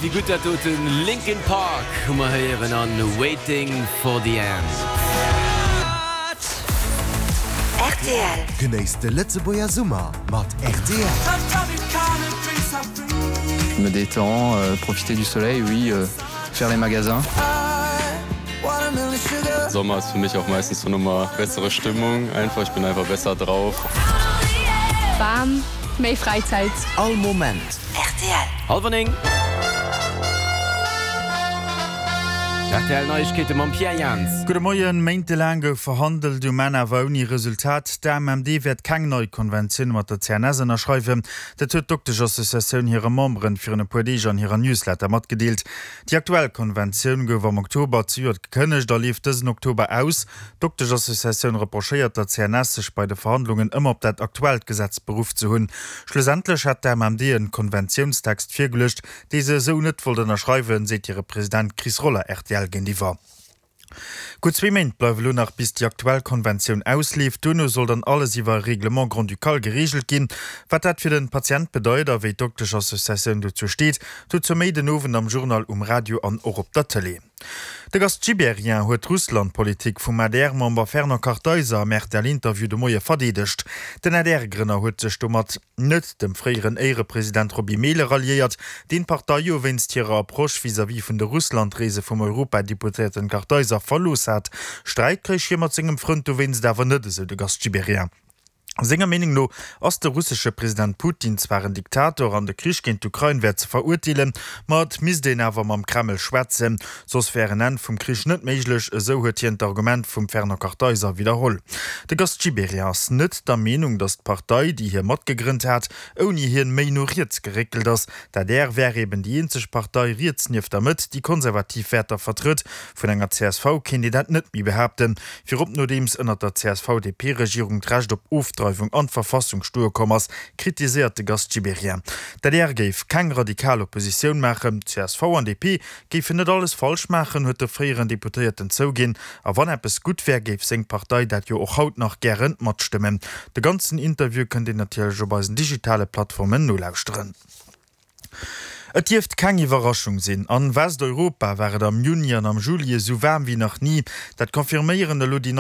wéi gutt dat doten. Linkin Park hu mer héieren an Waiting for the End. Rtl. Genéisst de Lëtzebuerger Summer mat rtl. Je me détends, profiter du soleil, oui, faire les magasins. Sommer ist für mich auch meistens so nochmal bessere Stimmung einfach, ich bin einfach besser drauf. Bam, méi Fräizäit. All Moment. Rtl. Halwer 9. Rtl Neiegkeete mam Pierre Jans. Gudde Moien. Méintelaang gouf verhandelt, um Enn awer ouni Resultat. D'AMMD wäert keng nei Konventioun mat der CNS ënnerschreiwen. Dat huet d'Doktesch-Associatioun hire Memberen virun e puer Deeg an hirer Newsletter matgedeelt. Déi aktuell Konventioun gouf am Oktober zejoert gekënnegt a leeft dësen Oktober aus. D'Doktesch-Associatioun reprochéiert der CNS, sech bei de Verhandlungen ëmmer op dat aktuellt Gesetz beruff ze hunn. Schlussendlech hätt d'AMMD en Konventiounstext virgeluecht, dee se esou net wollt ënnerschreiwen, seet hire President Chris Roller rtl géintiwwer. Gutt zwee Méint bleiwe lo nach bis déi aktuell Konventioun ausleeft. Duerno soll dann alles iwwer e Règlement grand-ducal gereegelt ginn. Wat dat fir den Patient bedeit a wéi d'Doktesch-Associatioun dozou steet, dozou méi den Owend am Journal um Radio an och op der Tëlee. De Gast Gibéryen huet d'Russland-Politik vum ADR-Member Fernand Kartheiser am RTL-Interview de Moie verdeedegt. Den ADR-Grënner huet sech domat. net dem fréieren Éierepresident Roby Mehlen ralliéiert, deen d'Partei jo wéinst hirer Approche vis-à-vis vun de Russlandreese vum Europadeputéierten Kartheiser verlooss hat. Sträit kréich hie mat sengem Frënd dowéinst awer net, esou de Gast Gibéryen. Senger Meenung no ass de russesche President Putin zwar en Diktator an de Krich géint d'Ukrain wär ze verurteelen, ma et misst een awer mam Kreml schwätzen, Soss wär en Enn vum Krich net méiglech, esou huet hien d'Argument vum Fernand Kartheiser widderholl. De Gast Gibéryen ass net der Meenung, datt d'Partei, déi hie matgegrënnt hat, ouni hien méi no riets geréckelt ass. D'adr wär eben déi eenzeg Partei riets nieft der Mëtt, déi konservativ Wäerter vertrëtt. Vun enger csv kéint een dat net méi behaapten, virop nodeems ënnert der CSV-DP-Regierung d'Recht op Ofdreiwung an d'Verfassung stoe komm ass, kritiséiert de Gast Gibéryen. D'adr géif keng radikal Oppositioun maachen, csv an DP Géifen net alles falsch maachen, huet de fréieren Deputéierten zouginn. A wann eppes gutt wär, géif seng Partei dat jo och haut nach gären matstëmmen. De ganzen Interview kënnt een natierlech op eisen digitale Plattformen nolauschteren. Et dierft keng Iwwerraschung sinn, An Westeuropa war et am Juni an am Juli esou waarm wéi nach ni. Dat confirméieren elo déi nei.